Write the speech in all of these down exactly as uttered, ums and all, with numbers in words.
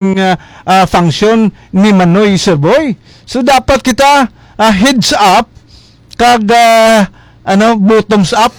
ah, ah, function ni Manoy, Sir Boy. So, dapat kita, ah, heads up kag, ah, ano, bottoms up.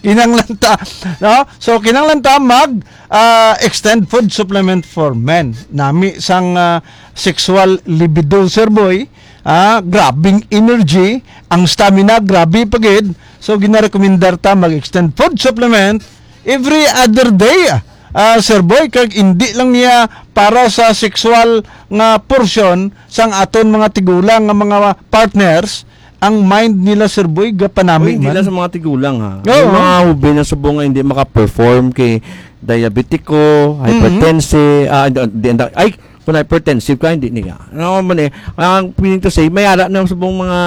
Kinahanglan ta, no? So, kinahanglan ta mag, ah, extend food supplement for men. Nami sang, ah, sexual libido, Sir Boy. Ah, grabing energy, ang stamina, grabe pa gid. So, ginarekomendar ta mag-extend food supplement every other day, ah, Sir Boy, kag hindi lang niya para sa sexual nga portion sang aton mga tigulang nga mga partners, ang mind nila, Sir Boy, gapanami Uy, hindi man. Lang sa mga tigulang, ha. Oo. Yung mga hubin na subong nga hindi maka-perform kay diabetiko, Mhm. hypertensive, ah, di, di, ay, kung hypertensive ka, hindi niya. Ano man eh, ang meaning to say, may ara na subong mga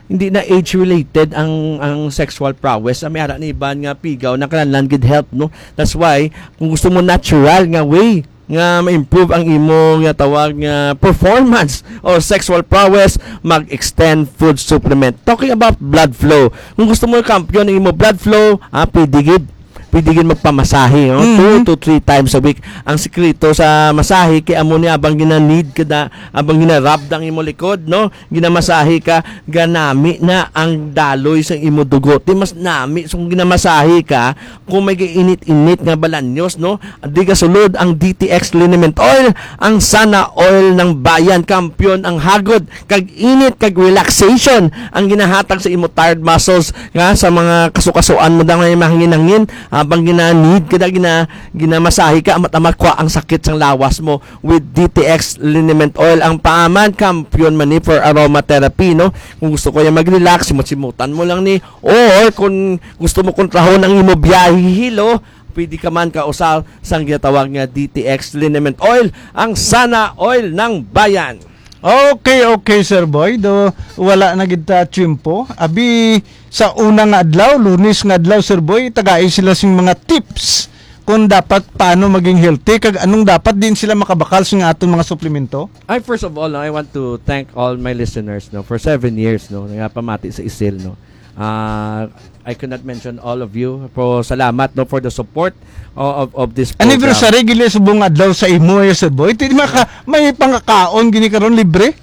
hindi na age-related ang ang sexual prowess. Ang may ara ni iban nga pigaw na kinahanglan gid help, no? That's why, kung gusto mo natural nga way nga ma-improve ang imo nga tawag nga performance or sexual prowess, mag-extend food supplement. Talking about blood flow, kung gusto mo kampiyon ang imo blood flow, ah, pwede gid. Pwede gid magpamasahe, no? Mhm. Two to three times a week. Ang sikreto sa masahe kay amo ni abang gina-knead ka da, abang gina-rub ang imo likod, no? Ginamasahe ka, ganami na ang daloy sa imo dugo. Di mas nami, so kung ginamasahe ka, kung may init-init nga balanyos, no? Di ka sulod ang D T X liniment oil, ang sana oil ng bayan, kampiyon ang hagod, kag init, kag relaxation ang ginahatag sa imo tired muscles nga sa mga kasukasuan mo daw nga mahangin-hangin, habang gina-knead ka da, gina-, ginamasahe ka, amat-amat kwa ang sakit sang lawas mo with D T X liniment oil. Ang paaman, kampiyon man ni for aromatherapy, no? Kung gusto ko yung mag-relax, simot-simutan mo lang ni. Or kung gusto mo kontrahon ang imo biyahe hilo, pwede ka man kausa sang ginatawag nga D T X liniment oil, ang sana oil ng bayan. Okay, okay, Sir Boy. Do, wala na gid ta tiyempo. Abi, sa una nga adlaw, Lunes nga adlaw, Sir Boy, tagai sila sing mga tips kung dapat paano maging healthy kag anong dapat din sila makabakal sa aton mga suplemento. I, first of all, I want to thank all my listeners, no, for seven years, no, nga pamati sa Isil, no. Ah, I cannot mention all of you, pero salamat, no, for the support o-, of, of this program. Anniversary gid subong adlaw sa imo, eh, Sir Boy. Ti maka-, may pangakaon gini karon libre?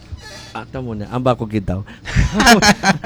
Ah, tamo na. Ang bako gid daw.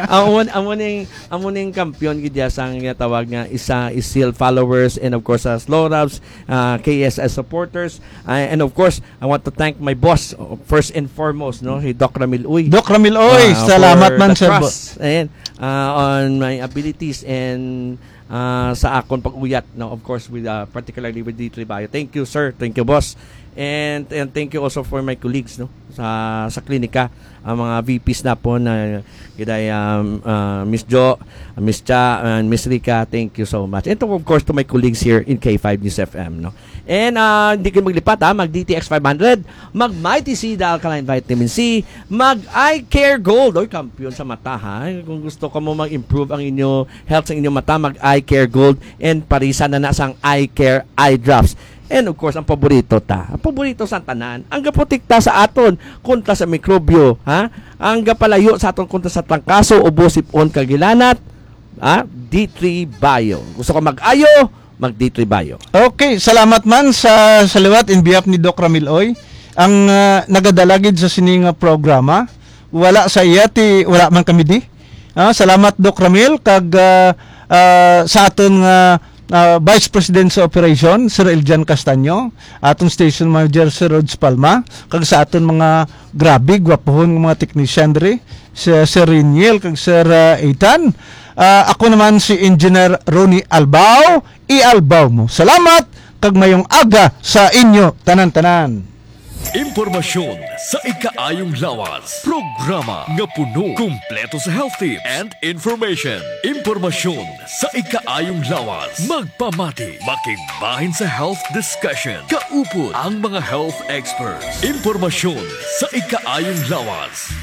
Amo, amo ning, amo ning kampiyon gid ya sang ginatawag nga isa Isil followers and of course sa Slow Rubs, ah, K S S supporters. Ah, and of course, I want to thank my boss, uh, first and foremost, no, si Doc Ramil Uy. Doc Ramil Uy, ah, salamat for man, the Sir Bo-, trust and, uh, on my abilities and, uh, sa akon pag-uyat, no, of course, with, uh, particularly with D three Bio. Thank you, sir. Thank you, boss. And, and thank you also for my colleagues, no, sa, sa klinika, ang mga V Ps na po na, giday, um, uh, Miss Jo, Miss Cha, and Miss Rica. Thank you so much. And to, of course, to my colleagues here in K five News F M, no. And, ah, hindi kayo maglipat, ha. Mag D T X five hundred, mag Mighty C, the alkaline vitamin C, mag Eye Care Gold. Oy, kampiyon sa mata, ha. Kung gusto ka mo mag-improve ang inyo health sa inyong mata, mag Eye Care Gold and parisan na na sang Eye Care Eye Drops. And of course, ang paborito ta. Ang paborito sa tanan, ang gaprotekta sa aton kontra sa mikrobyo, ha? Ang gapalayo sa aton kontra sa trangkaso, ubo, sipon, kag hilanat, ha? D three Bio. Gusto ka mag-ayo? Mag D three Bio. Okay, salamat man sa, sa liwat in behalf ni Doc Ramil Oy. Ang, ah, nagadala gid sa sini nga programa, wala sa iya ti, wala man kami di. Ah, salamat, Doc Ramil, kag, ah, ah, sa aton nga, ah, Vice President sa Operation, Sir Eljan Castaño, aton Station Manager, Sir Rods Palma, kag sa aton mga grabe, gwapohon nga mga technician diri, si Sir Reniel, kag Sir, ah, Ethan. Ah, ako naman si Engineer Ronnie Albao, i-Albao mo. Salamat, kag mayong aga sa inyo tanan-tanan. Impormasyon sa ikaayong lawas. Programa nga puno, kumpleto sa health tips and information. Impormasyon sa ikaayong lawas. Magpamati, makigbahin sa health discussion. Kaupod ang mga health experts. Impormasyon sa ikaayong lawas.